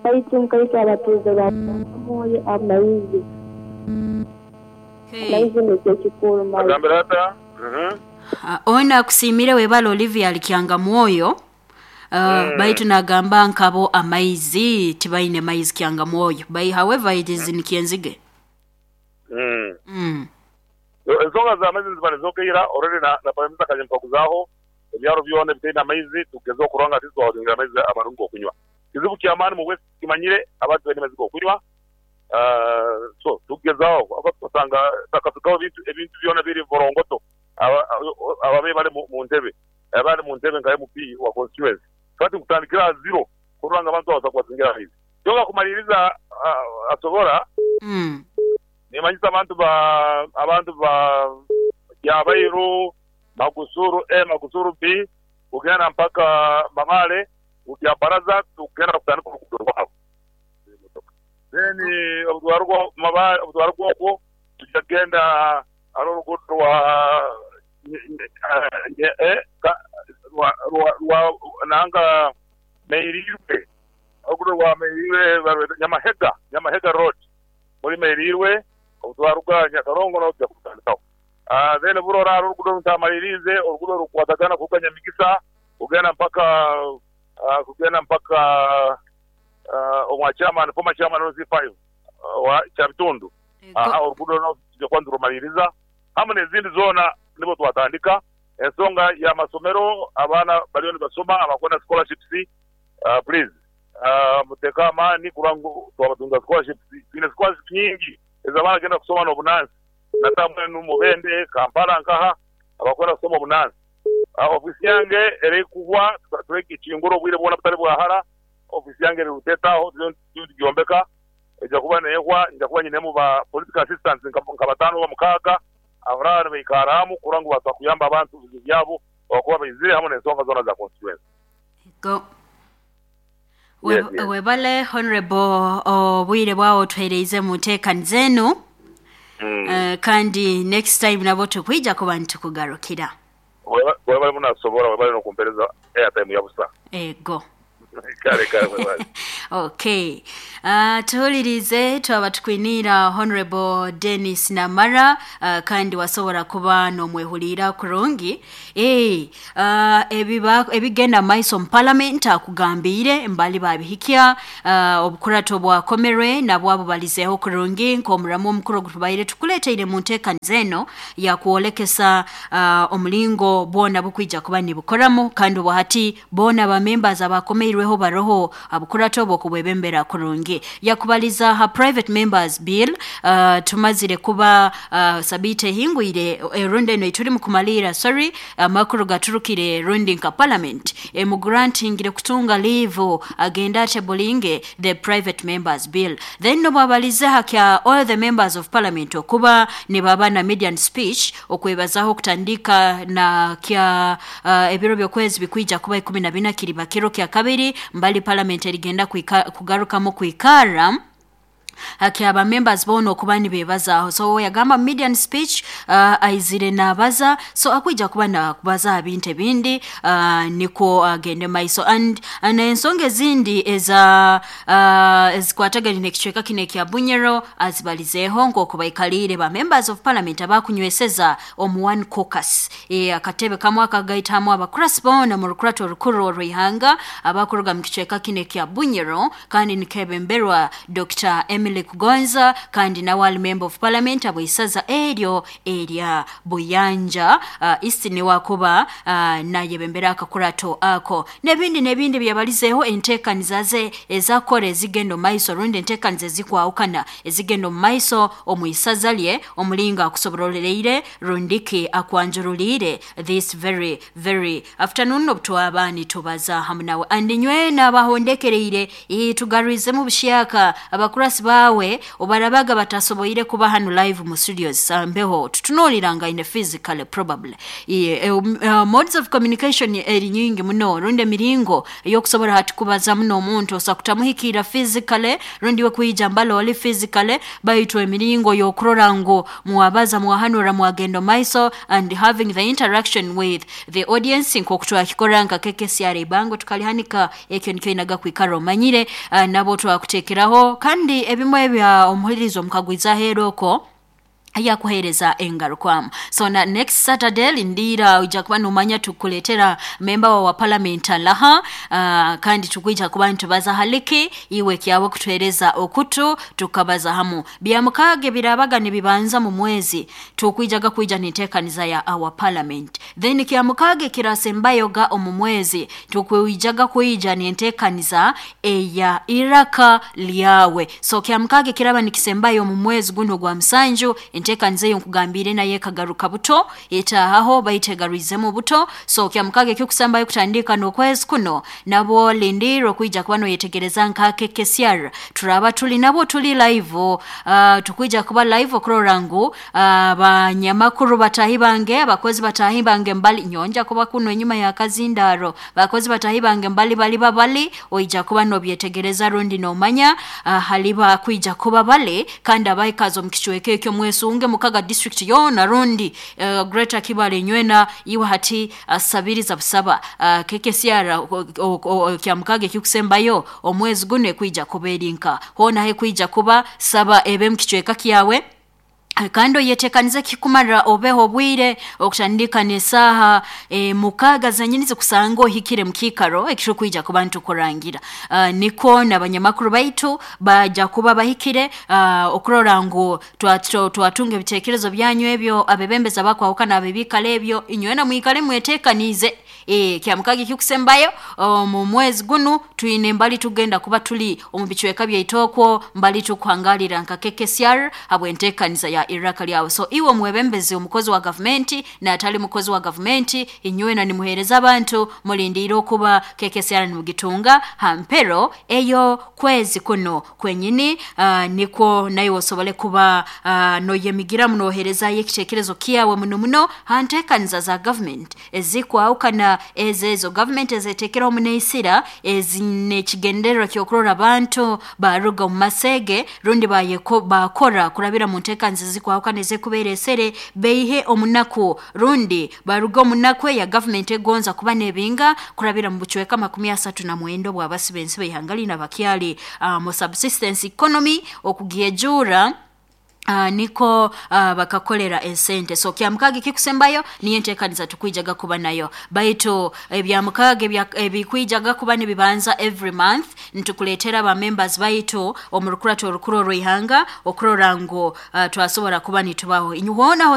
Kaitu nkaitu abatuuze ba Mwoyo amaizi. Amaizi nikyo kikuru mali. Agambire ata? Ono akusiimire webale Olivia Alikyanga Mwoyo. Baitu nagamba nkabo amaizi tibaine maizi Kyanga Mwoyo. By however it is in Kyenzige. Ensonga za maizi niziba nizogeira already na Prime Minister akaja mpaguzaaho ebyaro byona ebitaine amaizi tugeze okurora nga atleast twabatungira amaizi amarungi g'okunywa. Kizibu kyamaani mu West tukimanyire abantu tibaine maizi g'okunywa so tugezaho ahabw'okuba tukasanga takafikaho ebintu ebintu byona biri borongoto ababaire bali mu ntebe abali mu ntebe nka MP wa constituency kati nkutandikira aha zero kurora nga abantu abo basobola kubatungira amaizi. Kyonka kumaliriza asobora nimanyisa abantu ba abantu ba Kyabairu, Magusuru A, Magusuru B kugenda mpaka Mamale Kyabaraza tukugenda kutandika oruguudo rwabo. Then obutwaruga okwo tuja kugenda hariho oruguudo rwa nanka Meirirwe, oruguudo rwa Meirirwe barweta Nyamahega, Nyamahega Road muri Meirirwe obutwaruga Nyakarongo naho tuja kurutandikaho. Then Burora hariho oruguudo runtamaliriize, oruguudo orukukwatagana kuruga Nyamigisa kugenda mpaka kugenda mpaka omwa chairman, former chairman LC5 owa Kyabitundu. Oruguudo orwo tuja kuba niturumaliriza hamu n'ezindi zoona nibwo twatandika. Ensonga y'amasomero abaana bariyo nibasoma abakwenda scholarships please muteeke amaani kurora ngu twabatunga scholarships. Twine scholarships nyingi ez'abaana bagenda kusoma n'obunansi nata mbwenu Mubende, Kampala nkaha abakwenda kusoma obunansi. Ofiisi yange erikuhwa turekikingura obwire bwona butali bwahara. Ofiisi yange eri Ruteta aho turiyo nitugyombeka eija kuba neehwa nja kuba nyinemu ba political assistants nka bataano oba mukaaga abaraba nibaikaramu kurora ngu basobola kuyamba abantu ebizibu byabo abakuba baizire hamu n'ensonga zoona za constituency. Go. Yes, yes. Webale Honorable obwire bwawe otuhereize mu nteekaniza enu. Kandi next time nabwo tukwija kuba nitukugarukira. Webale muno Asobora, webale n'okumpereza airtime ya busa. Ego. Kale kale webale. Okay. Tuhulirize twaba tukwiniira Honorable Dennis Namara kandi wasobora kuba n'omwehuliira kurungi. Eh, ebiba ebigenda maiso mu parliament akugambiire mbali babihikya obukurato bwakomerwe nabwo abubalizeeho kurungi nk'omuramu omukuru ogutubaire tukuleeteire mu nteekaniza eno yakwolekesa omulingo bwona bukwija kuba nibukoramu kandi obwahati boona ba members abakomeirweho baroho abukurato obwo okubwebembera kurungi. Yakubaliza ha private members bill tumazire kuba sabiiti ehingwire erundi eno ituri mu kumaliira sorry amakuru gaturukire rundi nka parliament emugrantingire kutunga leave agenda atebulinge the private members bill. Then nobabalize hakya all the members of parliament okuba nibaba na median speech okwebazaho okutandika na kya ebiro by'okwezi bikwija kuba 14 kiriba kiro kya kabiri mbali parliament erigenda kugarukamu kwikara hakyaba members boona okuba nibeebazaaho. So yagamba median speech aizire naabaza so akwija kuba nakubaza aha bintu ebindi nikwo agende maiso and n'ensonga ezindi eza ezikwatagaine n'ekicweka kinu ekya Bunyoro azibalizeeho nk'oku baikaliire ba members of parliament abakunyweseza omu one caucus. Akatebe kamwe akagaitamu abakurasi boona mu rukurato orukuru orw'ihanga abakuruga mu kicweka kinu ekya Bunyoro kandi nikebemberwa Dr. Emily Kugonza kandi nawe ali member of parliament abw'isaza eryo erya Buyanja East niwakuba nayebembera akakurato ako n'ebindi n'ebindi byabalizeeho enteekaniza ze ezakora ezigenda omu maiso rundi enteekaniza ezikwahukana ezigenda omu maiso omu isaza lye omulingo akusoborolereire rundiki akwanjuruliire this very very afternoon obutwaba nitubaza hamu nawe and nywe n'abahondekereire tugarwizemu bushyaka abakurasi Bawe obarabaga batasoboire kuba hanu live mu studios mbeho tutunuuliranga physically probably. Modes of communication eri nyingi muno, rundi emiringo ey'okusobora hati kubaza muno omuntu osa kutamuhikira physically rundi we kwija mbalo oli physically, baitu emiringo y'okurora ngu mwabaza, mwahanura, mwagenda maiso and having the interaction with the audience nk'oku twakikora nka KKCR ibango tukalihanika. Ekyo nikyo inaga kwikara omanyire, nabo twakutekeraho kandi ebimwe ebya omuhulirizo omukagwiza aheeru okwo yakuhereza engarukwamu. So na next Saturday lindira, ojja kuba nomanya tukuletera member wa parliament alaha, kandi tukwija kuba nitubaza haliki iwe kyawe kutuhereza okutu tukabaza hamu bya mukaaga birabaga nibibanza mu mwezi tukwijaga kwija nintekaniza ya our parliament. Then kya mukaaga kirasembayoga omu mwezi tukwijaga kwija nintekaniza eya iraka lyawe. So kya mukaaga kiraba nikisembayo mu mwezi guno gwa musanju, entekaniza eyo nkugambire naye kagaruka buto etahaho baitegarwizemu buto. So kya mukaaga ekyokusambayo kutandika n'okwezi kuno nabo lindiro kwija kuba noyetegereza nka KKCR turaba tuli nabo tuli live, tukwija kuba live okurora ngu abanyamakuru batahi bange, abakozi batahi bange mbali nyonja kuba kuno enyuma ya kazindaro, bakozi batahi bange mbali bali babali oija kuba nobyetegereza rundi nomanya haliba kwija kuba bale kandi abaikazo mu kichweke ekyo mwesunge mukaga district yona rundi Greater Kibale nywena iwe hati sabiriza busaba KKCR kya mukaaga ekikusembayo omwezi guno ekwija kuba erinka hona he kwija kuba saba ebe mu kichweka kyawe kandi oyetekanize kikumara obeho obwire okutandika n'esaaha 6 zenyini zikusanga ohikire mu kiikaro ekitukwija kuba ntukurangira. Niko n'abanyamakuru baitu baja kuba bahikire okurora ngu twatunga ebitekerezo byanyu ebyo abebembeza bakwahukana abebikala ebyo inywena mwikale mwetekanize. Kya mukaaga ekikusembayo mu mwezi gunu twine mbali tugenda kuba tuli omu bicweka byaitokwo mbali tukuhangalira nka KKCR habwentekaniza ya iraka lyawe. So iwe mwebembezi omukozi wa gavumenti n'atali mukozi wa gavumenti inywena nimuhereza abantu mulindire okuba KKCR nimugitunga hampero eyo kwezi kuno kwenyini, niko naye osobole kuba noyemigiramu noherezayo ekitekerezo kyawe muno muno hantekaniza za government ezikwahukana ezezo government ezetekeraho muneisira ezinekigendererwa kyokurora abantu baruga omu masege rundi bakora kurabira mu ntekaniza zikwahukana ezekubeera esere beihe omunaku rundi baruga omunaku ya government egonza kuba nebinga kurabira mu bucweka 39 bwabasibensi beihangali nabakyali mu subsistence economy okugyejura niko bakakolera esente. So kya mukaaga ekikusembayo niyo entekaniza tukwijaga kuba nayo, baitu ebya mukaaga ebikwijaga kuba nibibanza every month nitukuletera ba members baitu omu rukurato orukuru orw'ihanga okurora ngu twasobora kuba nitubaho inyuhona.